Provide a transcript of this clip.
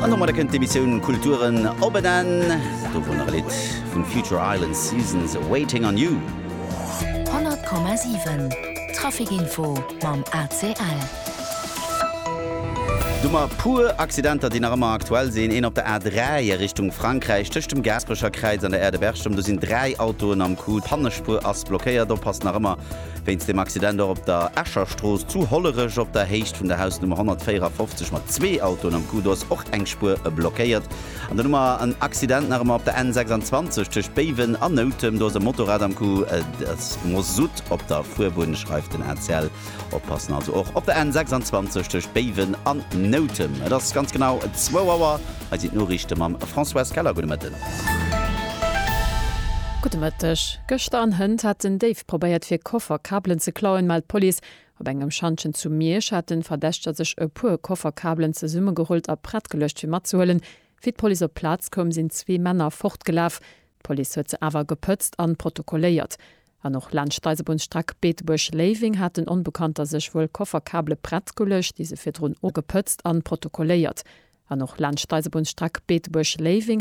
An domadder kënnt d'Emissioun Kulturen op en Enn. Dovun nach e Lidd vun Future Islands, Seasons Waiting on You. 100,7 Trafic Info mam ACL. Du mer puer Accidenter, déi nach ëmmer aktuell sinn. Een op der A3 a Richtung Frankräich, tëscht dem Gaasperecher Kräiz an der Aire de Berchem. Do sinn 3 Autoen am Coup. D'Pannespuer ass blockéiert. Oppassen nach ëmmer wéinst dem Accident och op der Escher Strooss zu Hollerech op der Héicht vun der Hausnummer 154 mat zwee Autoen am Coup. Do ass och eng Spuer blockéiert. An dann hu mer en Accident nach ëmmer op der N 26 tëscht Béiwen an Noutem. Do ass e Motorrad am Coup. Et ass Masutt op der Fuerbunn, schreift den ACL. Oppassen also och op der N 26 tëscht Béiwen an Noutem. Et ass ganz genau zwou Auer. Hei sinn d'Noriichte mam Françoise Keller. Gudde Mëtten. Gudde Mëtteg. Gëschter an hënt hat en Déif probéiert fir Kofferkabelen ze klauen, mellt d'Police. Op engem Schantjen zu Miersch haten Verdächteger sech e puer Kofferkabelen zesummegerullt a prett geluecht fir matzehuelen. Wéi d'Police op d'Plaz koum, sinn zwee Männer fortgelaf. D'Police huet se awer gepëtzt an protokolléiert. An och laanscht d'Eisebunnsstreck Beetebuerg-Léiweng haten Onbekannter sech wuel Kofferkabele prett geluecht, déi se virdrun gepëtzt an protokolléiert. An och laanscht d'Eisebunnsstreck Beetebuerg-Léiweng.